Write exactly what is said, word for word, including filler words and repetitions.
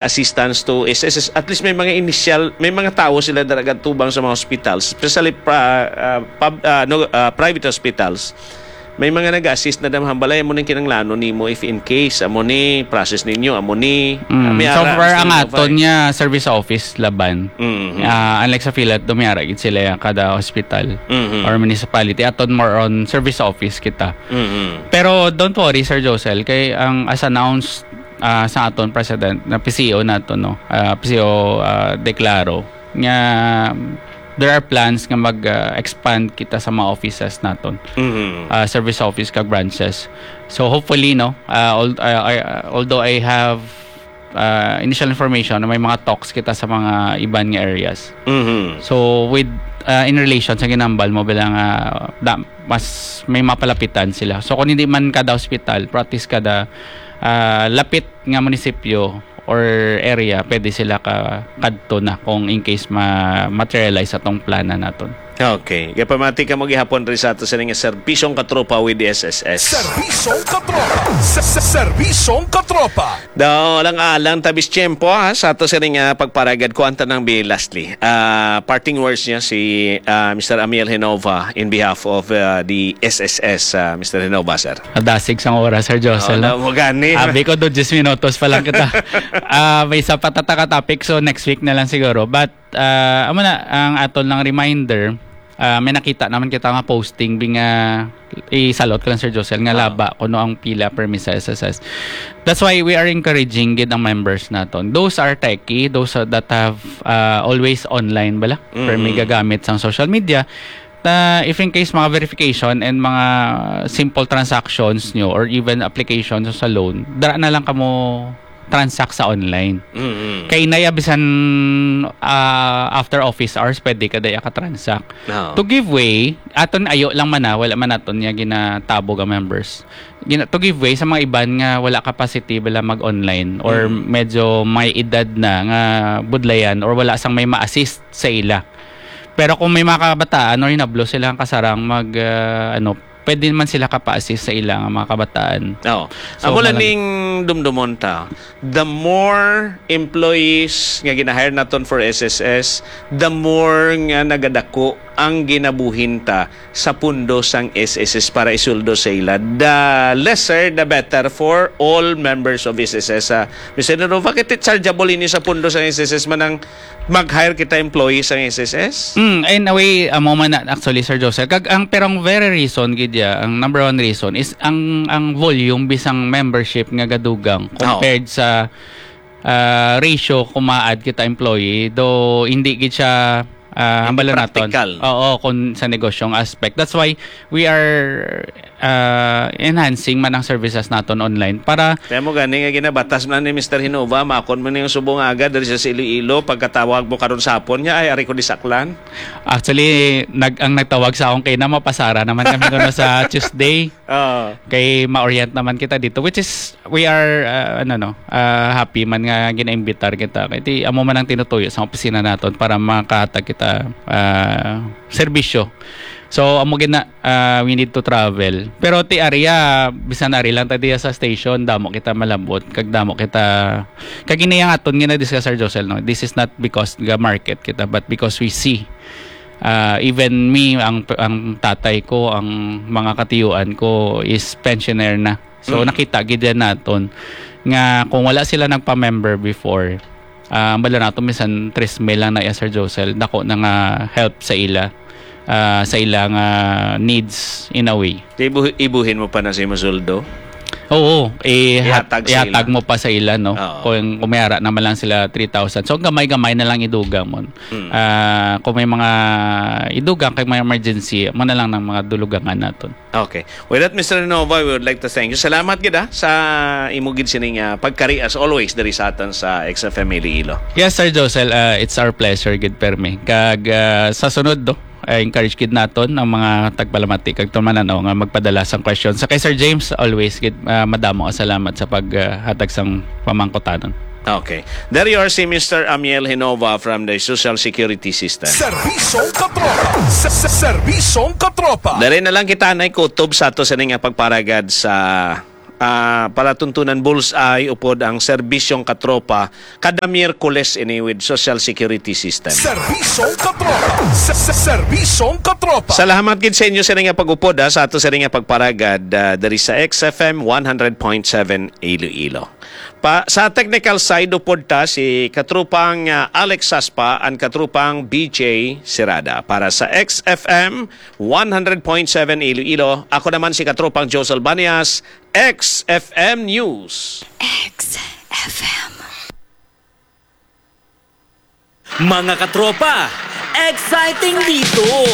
assistance to S S S. At least may mga initial, may mga tawo sila dira gatubang sa mga hospitals, especially pra-, ah, pub-, ah, no, ah, private hospitals. May mga nag-assist na damhang balay mo ning kinanglanon nimo if in case amo ni process ninyo, amo ni, ah, Mm, may so ara, far, Mister ang Novay. Aton niya service office laban. Mhm. Ah, unlike sa Philat, do may ara gid sila kada hospital Mhm. or municipality. Aton more on service office kita. Mhm. Pero don't worry, Sir Josel, kay ang as announced, ah, sa aton president na P C O nato, no? Ah, P C O, ah, Declaro nga there are plans nga mag, ah, expand kita sa mga offices naton. Mhm. Ah, service office kag branches. So hopefully, no, ah, al-, ah, I, ah, although I have, ah, initial information na may mga talks kita sa mga iban nga areas. Mhm. So with, ah, in relation sa ginambal mo bilang, ah, da-, mas may mapalapitan sila. So kung hindi man kada hospital, pero at least kada, ah, lapit nga munisipyo or area, pwede sila ka kadto na kung in case ma-materialize atong plana naton. Okay. Kaya pamati ka mo gihapon rin sa ato sila nga serbisyong katropa with the S S S. Serbisyong katropa. Sa, sa, serbisyong katropa. Daw, alang-alang tabis tiyempo, ha, sa ato sila nga pagparagad. Kuwan ta nang bi lastly. Ah, parting words niya si, ah, Mister Amiel Genova in behalf of, ah, the S S S, ah, Mister Genova, sir. Adasig sang oras, Sir Josel, Oo, no? Daw mo gani. Abi ko do diyes minutos pa lang kita. Ah, may isa pa ta ka topic, so next week na lang siguro. But, ah, amo na, ang aton lang reminder, ah, may nakita naman kita nga posting, bing, ah, isalot ko lang, Sir Josel, nga Ah. laba kuno ang pila permi sa S S S. That's why we are encouraging gid ang members naton. Those are techie, those are that have, ah, always online bala. Permi Mm. gagamit sang social media. Na if in case mga verification and mga simple transactions nyo or even applications sa loan, dara na lang kamo transact sa online. Mm-mm. Kay naya bisan, ah, after office hours, pwede ka daya ka-transact. Oo. To give way, aton ayo lang man na, wala man naton niya ginatabog ang members. Gina-, to give way sa mga iban nga wala capacity bala mag-online or Mm. medyo may edad na nga budlayan or wala sang may ma-assist sa ila. Pero kung may mga kabataan or hinablo sila ang kasarang mag, ah, ano, pwede man sila kapa-assist sa ila nga mga kabataan. Oo. So, Amo lang malang- ning dumdumon ta. The more employees nga gina-hire naton for S S S, the more nga nagadako ang ginabuhin ta sa pundo sang S S S para isuldo sa ila. The lesser, the better for all members of S S S. Ah, Mister Nero, bakit chargeable ini sa pundo sang S S S man ang mag-hire kita employees sang S S S? Mm, in a way, amo man na, actually, Sir Joseph. Kag ang, pero ang very reason gid ya, ang number one reason is ang, ang volume bisang membership nga gadugang Oo. compared sa, ah, ratio kung ma-add kita employee. Though hindi gid siya, ah, Hindi hambal naton. practical. Oo, kung sa negosyong aspect. That's why we are, ah, enhancing man ang services naton online para Kaya mo gani nga ginabatas man ni Mister Hinova, makon mo na yung subong agad diri sa Iloilo, pagkatawag mo karon sa hapon niya, ay, ari ko di saklan. Actually, nag-, ang nagtawag sa akon kay na mapasara naman kami kuno sa Tuesday. Oo. Kay ma-orient naman kita dito, which is, we are, ah, ano, no, ah, happy man nga ginaimbitar kita. Kay ti, amo man ang tinutuyo sa opisina naton para makahatag kita, ah, serbisyo. So, amo gid na, ah, we need to travel. Pero ti area, bisan ari lang ta diya sa station, damo kita malabot, kag damo kita, kag ini ang aton nga na-discuss, Sir Josel, no? This is not because ga market kita, but because we see, ah, even me, ang, ang tatay ko, ang mga katiyuan ko is pensioner na. So, Mm. nakita gid yan naton nga kung wala sila nagpa-member before, ah, ang bala nato, minsan tres mil lang na iya, Sir Josel, dako na nga help sa ila, ah, sa ila nga needs in a way. Di ibu-, ibuhin mo pa na sa imo sweldo? Oo, eh, hat-, Ihatag sa ihatag ila. mo pa sa ila, no? Oo. Kung, kung may ara naman lang sila three thousand. So, gamay-gamay na lang idugang mo. Mm. Ah, kung may mga idugang, kay may emergency, mo na lang ng mga dulugangan naton. Okay. With that, Mister Renova, we would like to thank you. Salamat gid, ah, sa imo gid sining, ah, pagkari as always diri sa aton sa X F M Iloilo. Yes, Sir Josel, ah, it's our pleasure gid, permi. Kag, ah, sa sunod, do, I encourage gid naton ang mga tagpalamati kag tumanan, no, nga magpadala sang question. Sa kay Sir James, always gid, ah, madamo ang salamat sa pag, ah, hatag sang pamangkutanon. Okay. There you are, si Mister Amiel Hinova from the Social Security System. Serbisyong katropa. Sa, sa, serbisyong katropa. Dali na lang kita na kutob sa ato sa nga pagparagad sa ah, palatuntunan bullseye upod ang serbisyong katropa kada Miyerkules ini with Social Security System. Serbisyong katropa. Se- se- Serbisyong katropa. Salamat gid sa inyo sa nga pag-upod, ha, sa ato sa nga pagparagad, ah, diri sa X F M one hundred point seven Iloilo. Pa, sa technical side, upod ta si katropang, ah, Alex Saspa and katropang B J Sirada. Para sa X F M one hundred point seven Iloilo, ako naman si katropang Josel Banias, X F M News. X F M. Mga katropa, exciting dito!